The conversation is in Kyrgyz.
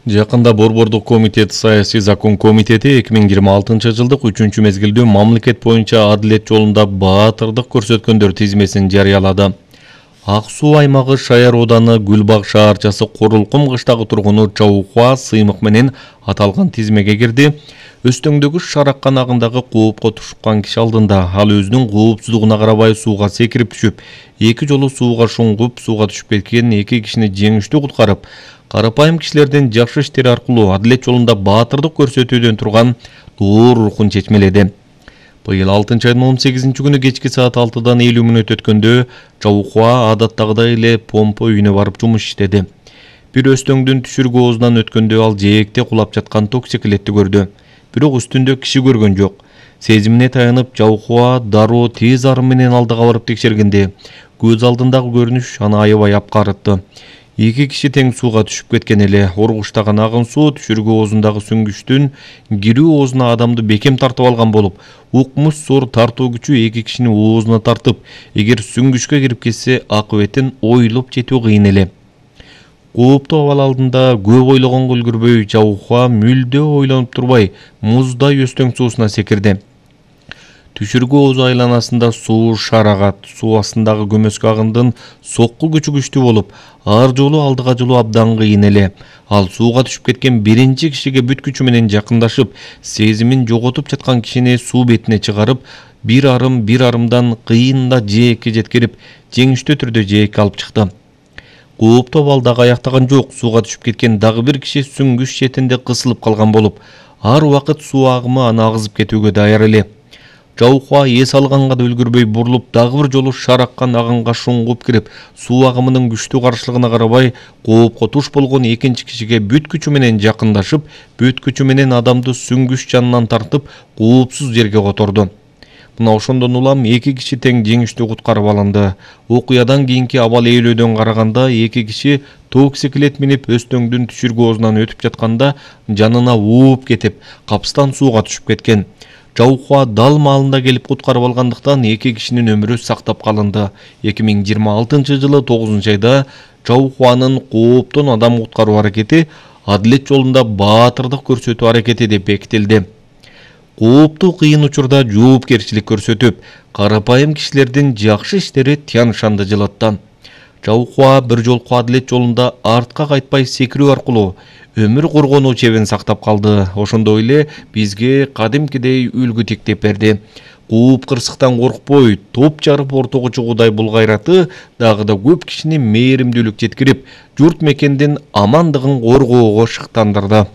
Жакында Борбордук комитет саясий закон комитети 2026-жылдык 3-мезгилдүү мамлекет боюнча адилет жолунда баатырдык көрсөткөндөр тизмесин жарыялады. Ак суу аймагы Шаяр ооданы Гүлбаг шаарчасы Корулкум кыштагы тургуну Чаукуа Сыймык менен аталган тизмеге кирди. Өстөңдөгү шарак канагындагы коопко тушкан киши алдында ал өзүнүн коопсуздугуна карабай сууга секирип түшүп, 2 жолу сууга шуңгуп, сууга түшүп кеткен 2 кишини жеңиштүү куткарып, карапайым кишилердин жакшы иштери аркылуу адилет жолунда баатырдык көрсөтүүдөн турган доор рухун чечмеледи. Быйыл 6-айдын 18-күнү кечки саат 6-дан 50 мүнөт өткөндө Чаукуа адаттагыдай эле помпа үйүнө барып жумуш иштеди. Бир өстөңдүн түшүргү оозунан өткөндө ал жээкте кулап жаткан токсиклетти көрдү. Бирок үстүндө киши көргөн жок. Сезимине таянып Чаукуа дароо тез арым менен алдыга барып текшергенде көз алдындагы көрүнүш аны аябай апкарытты. 2 киши тең сууга түшүп кеткен эле. Оргуштаган агын суу түшүргү оозундагы сүңгүчтүн кирүү оозуна адамды бекем тартып алган болуп, укмуш зор тартуу күчү 2 кишини оозуна тартып, эгер сүңгүчкө кирип кетсе, акыбетин ойлоп жетүү кыйын эле. Кооптуу абал алдында көп ойлогонго үлгүрбөй Чаукуа мүлдө ойлонуп турбай муздай өстөң суусуна секирди. Түшүргү оозу айланасында суу шарагат, суу астындагы көмөскө агындын сокку күчү күчтүү болуп, ар жолу алдыга жылуу абдан кыйын эле. Ал сууга түшүп кеткен биринчи кишиге бүт күчү менен жакындашып, сезимин жоготуп жаткан кишини суу бетине чыгарып, бир арымдан кыйында жээкке жеткирип, жеңиштүү түрдө жээкке алып чыкты. Кооптуу абал дагы аяктаган жок. Сууга түшүп кеткен дагы бир киши сүңгүч четинде кысылып калган болуп, ар убакыт суу агымы аны агызып кетүүгө даяр эле. Чаукуа эс алганга да үлгүрбөй бурулуп, дагы бир жолу шараккан агынга шуңгуп кирип, суу агымынын күчтүү каршылыгына карабай, коопко туш болгон экинчи кишиге бүт күчү менен жакындашып, бүт күчү менен адамды сүңгүч жанынан тартып, коопсуз жерге которду. Мына ошондон улам 2 киши тең жеңиштүү куткарып алынды. Окуядан кийинки абал ээлөөдөн караганда 2 киши токсиклет минип өстөңдүн түшүргү оозунан өтүп жатканда жанына ууп кетип, капстан сууга түшүп кеткен. Чаукуа дал маалында келип куткарып алгандыктан 2 кишинин өмүрү сактап калынды. 2026-жылы 9-айда Чаукуанын кооптон адам куткаруу аракети адилет жолунда баатырдык көрсөтүү аракети деп бекитилди. Кооптуу кыйын учурда жоопкерчилик көрсөтүп, карапайым кишилердин жакшы иштери тяншанды жылытты. Чаукуа бир жолку адилет жолунда артка кайтпай секирүү аркылуу өмүр коргонуу чебин сактап калды. Ошондой эле бизге кадимкидей үлгү тиктеп берди. Кууп кырсыктан коркпой, топ жарып ортого чыгуудай бул кайраты дагы да көп кишини мээримдүүлүк жеткирип, журт мекендин амандыгын коргоого шыктандырды.